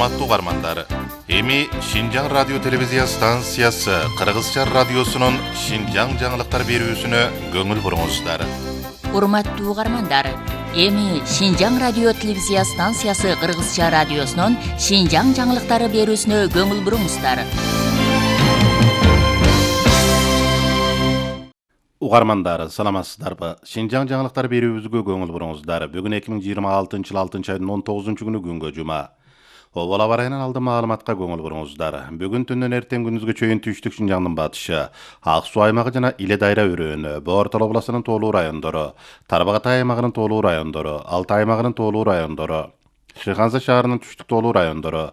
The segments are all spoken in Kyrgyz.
Урматтуу угармандар, эми Шинжаң радио телевизия станциясы Кыргызча радиосунун Шинжаң жаңылыктар берүүсүнө көңүл буруңуздар. Урматтуу угармандар, эми Шинжаң радио телевизия станциясы Кыргызча радиосунун Шинжаң жаңылыктары берүүсүнө көңүл буруңуздар. Угармандар, саламатсыздарбы? Шинжаң жаңылыктар берүүбүзгө көңүл буруңуздар. Бүгүн 2026 жыл 6-айдын 19-күнү күнгө жума. Обол аба ырайынан алды маалыматка көңүл буруңуздар. Бүгүн түндөн эртең күндүзгө чейин түштүк Шинжаңдын батышы, Ак Суу аймагы жана Иле Дайра өрөөнү, Боортол областынын тоолуу райондору, Тарбагатай аймагынын тоолуу райондору, Алтай аймагынын тоолуу райондору, Шыханза шаарынын түштүк тоолуу райондору,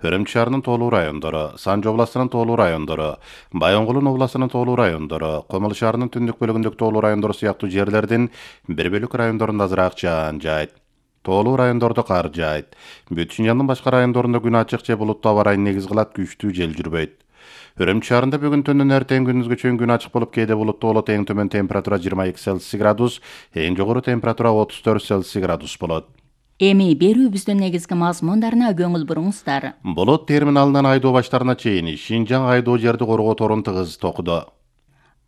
Өрөмчү шаарынын тоолуу райондору, Санжы областынын тоолуу райондору, Байонгулун областынын тоолуу райондору, Комул шаарынын түндүк бөлүгүндөгү тоолуу райондору сыяктуу жерлердин бир бөлүк райондорунда азыраак жаан жайт. Тоолуу райондордо кар жайт. Бүт Шинжаңдын башка райондорунда күн ачык же булуттуу аба ырайын негиз кылат, күчтүү жел жүрбөйт. Өрөмчү шаарында бүгүн түндөн эртең күндүзгө чейин күн ачык болуп, кээде булуттуу болот, эң төмөн температура 22 Цельсий градус, эң жогору температура 34 Цельсий градус болот. Эми берүүбүздүн негизги мазмундарына көңүл буруңуздар. Болот терминалынан айдоо баштарына чейин Шинжаң айдоо жерди коргоо торун тыгыз токуду.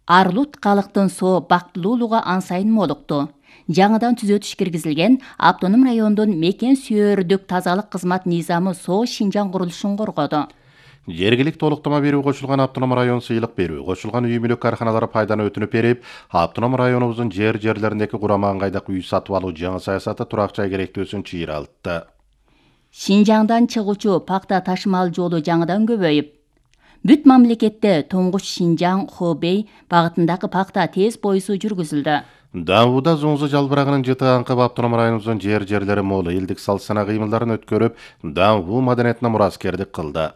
Арлут калктын соо бактылуулугу ан сайын молукту. Жаңыдан түзөтүш киргизилген автоном райондун мекен сүйөрдүк тазалык кызмат низамы соо Шинжаң курулушун коргоду. Жергилик толуктама берүү кошулган автоном район сыйлык берүү, кошулган үй мүлүк карханалары пайданы өтүнүп берип, автоном районубуздун жерлериндеги курама ыңгайдак үй сатып алуу жаңы саясаты турак жай керектөөсүн чыйралтты. Шинжаңдан чыгуучу пакта ташымал жолу жаңыдан көбөйүп, бүт мамлекетте Тоңгуч Шинжаң Хобей багытындагы пакта тез поюсу жүргүзүлдү. Давуда Зуңзу жалбырагынын жыты аңкып автоном районубуздун жерлери молу элдик салт-сана кыймылдарын өткөрүп, Даву маданиятына мураскердик кылды.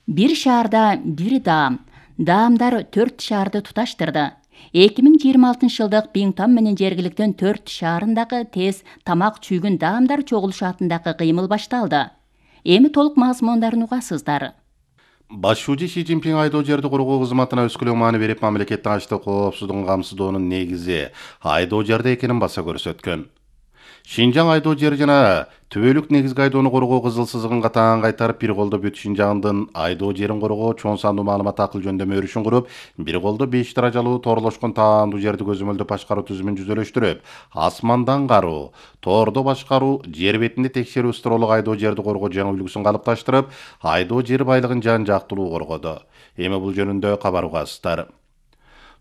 Бир шаарда бир даам. Даамдар 4 шаарды туташтырды. 2026 жылдык Биңтам менен жергиликтин 4 шаарындагы тез тамак чүйгүн даамдар чогулушатындагы кыймыл башталды. Эми толук мазмундарын угасыздар. Башчы Ши Цзиньпин айдоо жерди коргоо кызматына өскөлөң маани берип, мамлекеттин ачлык коопсуздугун камсыздоонун негизи айдоо жерде экенин баса көрсөткөн. Шинжаң айдоо жери жана түбөлүк негизги айдоону коргоо кызыл сызыгын катаан кайтарып, бир колдо бүт Шинжаңдын айдоо жерин коргоо чоң сандуу маалымат акыл жөндөмө өрүшүн куруп, бир колдо 5 даражалуу торлошкон таандуу жерди көзөмөлдөө башкаруу түзүмүн жүзөлөштүрүп, асмандан кароо, тоордо башкаруу, жер бетинде текшерүү строолук айдоо жерди коргоо жаңы үлгүсүн калыпташтырып, айдоо жер байлыгын жан жактылуу коргоду. Эми бул жөнүндө кабар угасыздар.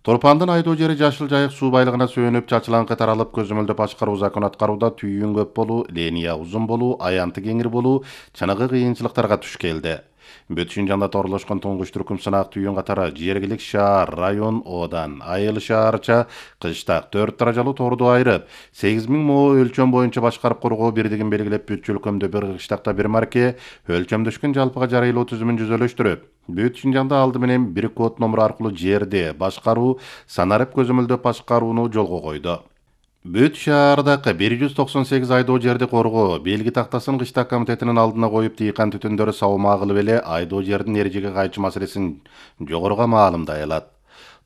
Торпандын айдоо жери жашыл жайык суу байлыгына сөөнүп, чачылаңкы таралып, көзөмөлдө башкаруу закон аткарууда түйүн көп болуу, линия узун болуу, аянты кеңир болуу, чыныгы кыйынчылыктарга туш келди. Бүт Шинжаңда торлошкон туңгуч түркүм сынаак түйүн катары жергилик шаар, район, одан, айыл шаарча, кыштак 4 даражалуу торду айрып, 8000 мо өлчөм боюнча башкарып коргоо бирдигин белгилеп, бүт өлкөмдө бир кыштакта бир марке өлчөмдөшкөн жалпыга жарыйлоо түзүмүн жүзөлөштүрүп, бүт Шинжаңда алды менен бир код номуру аркылуу жерди башкаруу, санарып көзөмөлдөп башкарууну жолго койду. Бүт шаардагы 198 айдоо жерди коргоо белги тактасын кыштак комитетинин алдына коюп, дыйкан түтүндөрү сабылма кылып эле айдоо жердин эрежеге кайчы маселесин жогоруга маалымдай алат.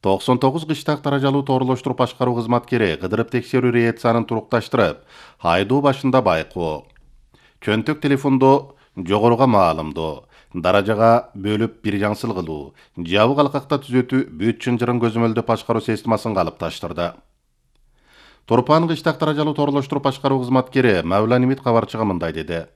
99 кыштак даражалуу торлоштуруп башкаруу кызматкери кыдырып текшерүү рейетсанын турукташтырып, айдоо башында байкоо, чөнтөк телефондо жогоруга маалымдоо, даражага бөлүп бир жаңсыл кылуу, жабык алкакта түзөтүү, бүт чынжырын көзөмөлдөп башкаруу системасын калыпташтырды. Торпан кыштак даражалуу торлоштуруп башкаруу кызматкери Мавла Нимит кабарчыга мындай деди.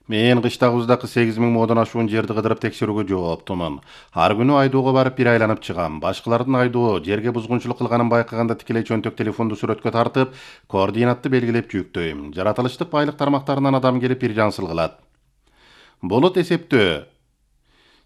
Мен кыштагыбыздагы 8000 модон ашуун жерди кыдырып текшерүүгө жооптумун. Ар күнү айдоого барып бир айланып чыгам. Башкалардын айдоо жерге бузгунчулук кылганын байкаганда тикелей чөнтөк телефонду сүрөткө тартып, координатты белгилеп жүктөйм. Жаратылыштык байлык тармактарынан адам келип бир жаңсыл кылат. Болот эсептөө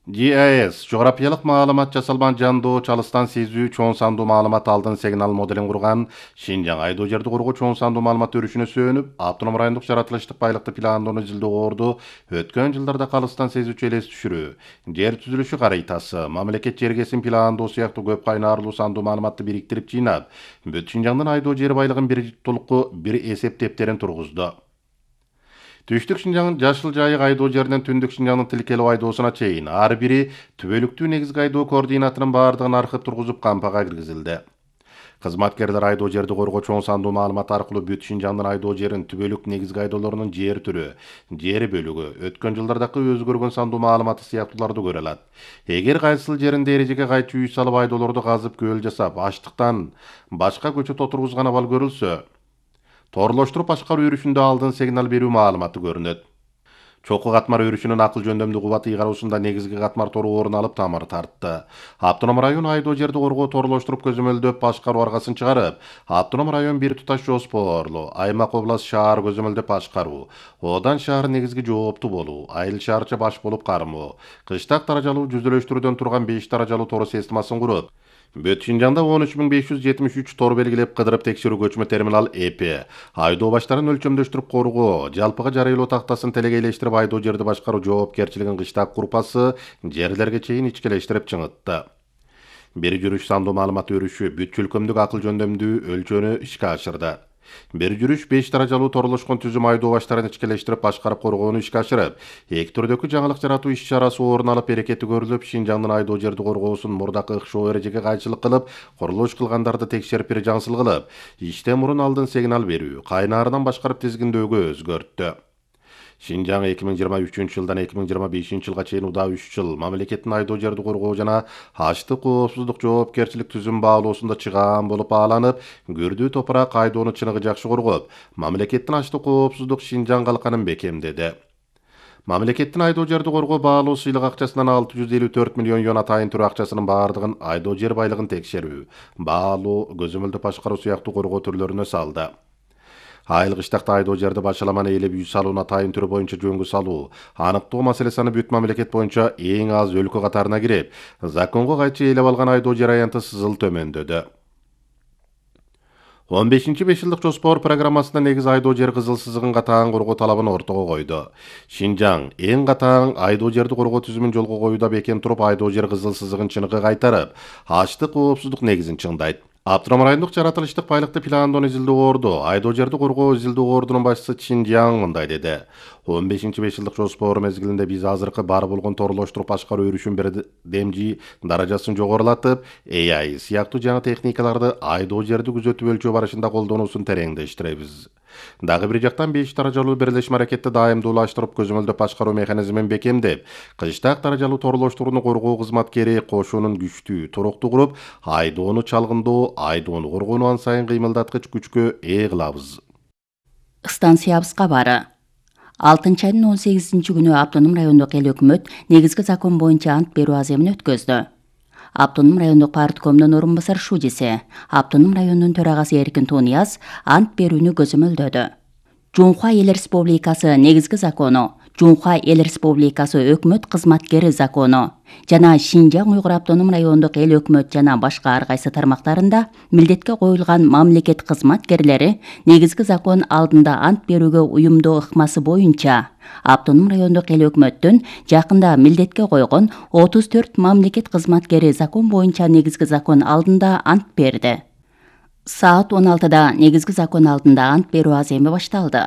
GIS жографиялык маалымат жасалган жандоо чалыстан сезүү чоң сандуу маалымат алдын сигнал моделин курган Шинжаң айдоо жерди коргоо чоң сандуу маалымат өрүшүнө сөөнүп, автоном райондук жаратылыштык байлыкты пландоону изилдөө өткөн жылдарда калыстан сезүүчү элес түшүрүү, жер түзүлүшү карыйтасы, мамлекет жергесин пландоо сыяктуу көп кайнарлуу сандуу маалыматты бириктирип жыйнап, бүт Шинжаңдын айдоо жер байлыгын бир толуку бир эсептептерин тургузду. Түштүк Шинжаңдын жашыл жайык айдоо жеринен түндүк Шинжаңдын тилкелүү айдоосуна чейин ар бири түбөлүктүү негизги айдоо координатынын баардыгын аркып тургузуп кампага киргизилди. Кызматкерлер айдоо жерди коргоо чоң сандуу маалымат аркылуу бүт Шинжаңдын айдоо жерин түбөлүк негизги айдоолорунун жер түрү, жер бөлүгү, өткөн жылдардагы өзгөргөн сандуу маалыматы сыяктууларды көрө алат. Эгер кайсыл жеринде эрежеге кайчы үй салып айдоолорду казып көл жасап, аштыктан башка көчөт отургузган абал көрүлсө, торлоштуруп башкаруу өрүшүндө алдын сигнал берүү маалыматы көрүнөт. Чокку катмар өрүшүнүн акыл жөндөмдүү кубаты ыйгаруусунда негизги катмар тору орун алып тамыр тартты. Автоном район айдоо жерди коргоо торлоштуруп көзөмөлдөп башкаруу аргасын чыгарып, автоном район бир туташ жоспоорлуу, аймак област шаар көзөмөлдөп башкаруу, Одан шаар негизги жооптуу болуу, айыл шаарча баш болуп кармоо, кыштак даражалуу жүзөлөштүрүүдөн турган 5 даражалуу тору системасын куруп, Бүт Шинжаңда 13.573 тор белгилеп кыдырып текшерүү көчмө терминал ЭП, айдоо баштарын өлчөмдөштүрүп коргоо, жалпыга жарыйлоо тактасын телегейлештирип айдоо жерди башкаруу жоопкерчилигин кыштак группасы жерлерге чейин ичкелештирип чыңытты. Бир жүрүш сандуу маалымат өрүшү бүт чөлкөмдүк акыл жөндөмдүү өлчөнү ишке ашырды. Бир жүрүш 5 даражалуу торлошкон түзүм айдоо баштарын ичкелештирип башкарып коргоону ишке ашырып, эки түрдөгү жаңылык жаратуу иш-чарасы орун алып берекети көрүлүп, Шинжаңдын айдоо жерди коргоосун мурдакы ыкшоо эрежеге кайчылык кылып, курулуш кылгандарды текшерип бир жаңсыл кылып, иштен мурун алдын сигнал берүү, кайнаарынан башкарып тизгиндөөгө өзгөрттү. Шинжаң 2023-жылдан 2025-жылга чейин удаа 3 жыл мамлекеттин айдоо жерди коргоо жана аштык коопсуздук жоопкерчилик түзүм баалоосунда чыгаан болуп бааланып, Күрдүү топурак айдоону чыныгы жакшы коргоп, мамлекеттин аштык коопсуздук Шинжаң калканын бекемдеди. Мамлекеттин айдоо жерди коргоо баалоо сыйлык акчасынан 654 миллион юан атайын түрү акчасынын баардыгын айдоо жер байлыгын текшерүү, баалоо, көзөмөлдөп башкаруу сыяктуу коргоо түрлөрүнө салды. Айыл кыштакта айдоо жерди башаламан ээлеп үй салууну атайын түрү боюнча жөнгө салуу, аныктоо маселеси бүт мамлекет боюнча эң аз өлкө катарына кирип, законго кайчы ээлеп алган айдоо жер аянты сызыл төмөндөдү. 15-5 жылдык жоспор программасында негиз айдоо жер кызыл сызыгын катаан коргоо талабын ортого койду. Шинжаң эң катаан айдоо жерди коргоо түзүмүн жолго коюуда бекем туруп, айдоо жер кызыл сызыгын чыныгы кайтарып, аштык коопсуздук негизин чыңдайт. Автоном райондук жаратылыштык байлыкты пландоону изилдөө орду, айдоо жерди коргоо изилдөө ордунун башчысы Шинжаң мындай деди. 15-5 жылдык жоспор мезгилинде биз азыркы бар болгон торлоштуруп башкаруу өрүшүн бирдемжи даражасын жогорулатып, AI сыяктуу жаңы техникаларды айдоо жерди күзөтүп өлчөө барышында колдонуусун тереңдештиребиз. Дагы бир жактан 5 даражалуу бирлешме аракетти дайымдуулаштырып көзөмөлдөп башкаруу механизмин бекемдеп, кыштак даражалуу торлоштурууну коргоо кызматкери кошуунун күчтүү туруктуу куруп, айдоону чалгындоо, айдоону коргоону ан сайын кыймылдаткыч күчкө ээ кылабыз. Станциябыз кабары. 6-айдын 18-күнү автоном райондук эл өкмөт негизги закон боюнча ант берүү аземин өткөздү. Автоном райондук парткомдун орун басар шудиси, автоном районунун төрагасы Эркин Тунияз ант берүүнү көзөмөлдөдү. Жумхуа Эл Республикасы негизги закону, Жумхуа Эл Республикасы өкмөт кызматкери закону жана Шинжаң Уйгур автоном райондук эл өкмөт жана башка ар кайсы тармактарында милдетке коюлган мамлекет кызматкерлери негизги закон алдында ант берүүгө уюмдоо ыкмасы боюнча автоном райондук эл өкмөттүн жакында милдетке койгон 34 мамлекет кызматкери закон боюнча негизги закон алдында ант берди. Саат 16-да негизги закон алдында ант берүү аземи башталды.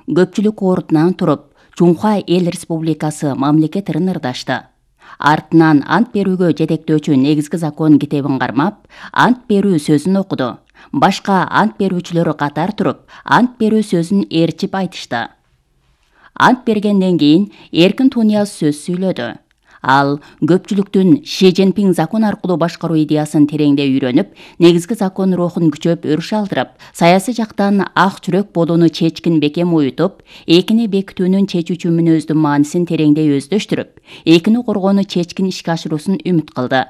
Көпчүлүк ордунан туруп, Жумхуа Эл Республикасы мамлекетин ырдашты. Артынан ант берүүгө жетектөөчү негизги закон китебин кармап, ант берүү сөзүн окуду. Башка ант берүүчүлөр катар туруп, ант берүү сөзүн ээрчип айтышты. Ант бергенден кийин Эркин Тунияз сөз сүйлөдү. Ал көпчүлүктүн Ши Цзиньпин закон аркылуу башкаруу идеясын тереңдей үйрөнүп, негизги закон рухун күчөп өрүш алдырып, саясий жактан ак жүрөк болууну чечкин бекем уютуп, экини бекитүүнүн чечүүчү мүнөздүн маанисин тереңдей өздөштүрүп, экини коргоону чечкин ишке ашыруусун үмүт кылды.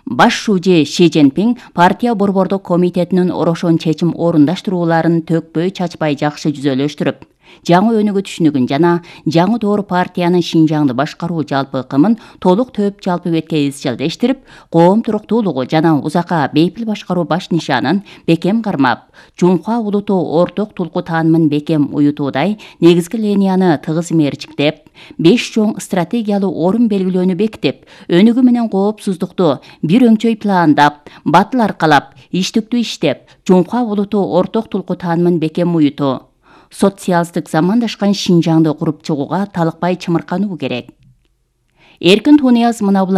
Баш шужи Ши Цзиньпин партия борбордук комитетинин орошон чечим орундаштырууларын төкпөй чачпай жакшы жүзөлөштүрүп, жаңы өнүгүү түшүнүгүн жана жаңы доор партиянын Шинжаңды башкаруу жалпы ыкымын толук төп жалпы бетке изчилдештирип, коом туруктуулугу жана узакка бейпил башкаруу баш нишанын бекем кармап, Жумхуа улуту орток тулку таанымын бекем уютуудай негизги линияны тыгыз мерчиктеп, 5 чоң стратегиялуу орун белгилөөнү бекитип, өнүгүү менен коопсуздукту бир өңчөй пландап, батыл аркалап, иштиктүү иштеп, Жумхуа улуту орток тулку таанымын бекем уютуу, социалдык замандашкан Шинжаңды куруп чыгууга талыкпай чымыркануу керек. Эркин Тунияз мына